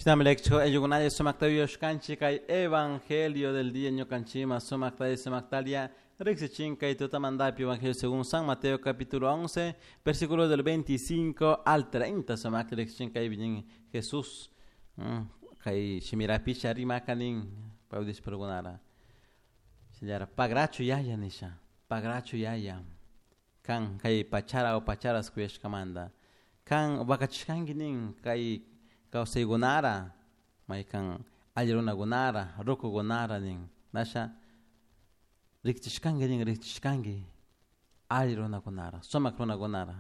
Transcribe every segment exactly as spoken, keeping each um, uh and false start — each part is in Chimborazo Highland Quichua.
Shinami ayllukunalla sumakta yuyashkanchik kay evangelio del día ñukanchikman sumakta sumaktalia riksichin kay tutamantapi evangelio según San Mateo capítulo once versículos del veinticinco al treinta sumakta riksichin kay nin Jesús kay shimirapisha rimakanin paypaj shinallara pagrachu yaya nisha pagrachu yaya kan kay pachara o pacharas kuyashkamanta kan wakachishkanki nin kay kawsaykunara maykan alli runakunara rukukunara nin nasha riqchishkanki nin riqchishkanki alli runakunara sumak runakunara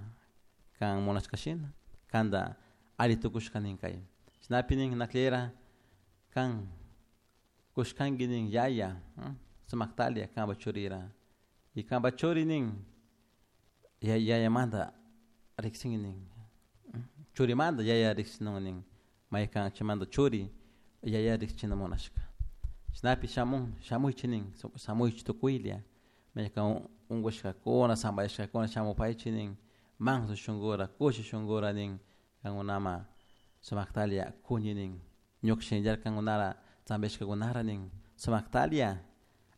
kan munashkashina kanta alli tukushka nin kay chaynapi nin naklera kan kushkanki nin yaya sumaktalia kanpa churira y kanpa churi nin yayamanta riqsinki nin churimanta yaya riqsinun nin maykan chaymanta churi yaya riqchina munashka chaynapi shamun shamuychik nin shamuychik tukuylla maykan unkushkakuna sampayashkakuna shamupaychik nin manso shunkura kushi shunkura nin kankunama sumaktalia kuni nin ñuka shinallara kankunara sampayashkakunara nin sumaktalia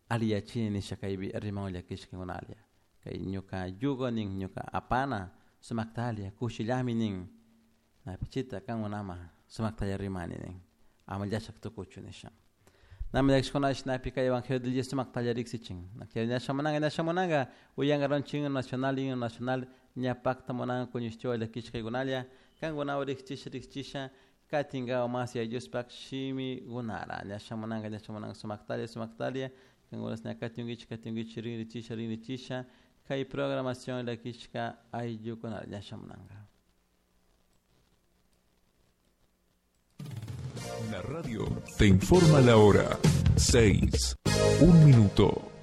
alliyachini nisha kaypi riman llakishkakunalla kay ñuka yugo nin ñuka apana sumaktalia kushillami nin napichita kankunama sumaktalla rimani nin ama llashak tukuchu nisha nami llakishkuna shinapi kay evangelio del día sumaktalla riksichin ña shamunanka ña shamunanka uyankaronchik himno nacional himno nacional ña pakta munanka kuñishtiwa llakishkaykunalla kankunawan riqchisha riqchisha katinkawan mas Yaya Diospak shimikunara ña shamunanka ña shamunanka sumaktalla sumaktalla kankunas ña katinkichik katinkichik rinrichisha rinrichisha kay programación llakishka ayllukunara ña shamunanka. La radio te informa la hora. Seis, un minuto.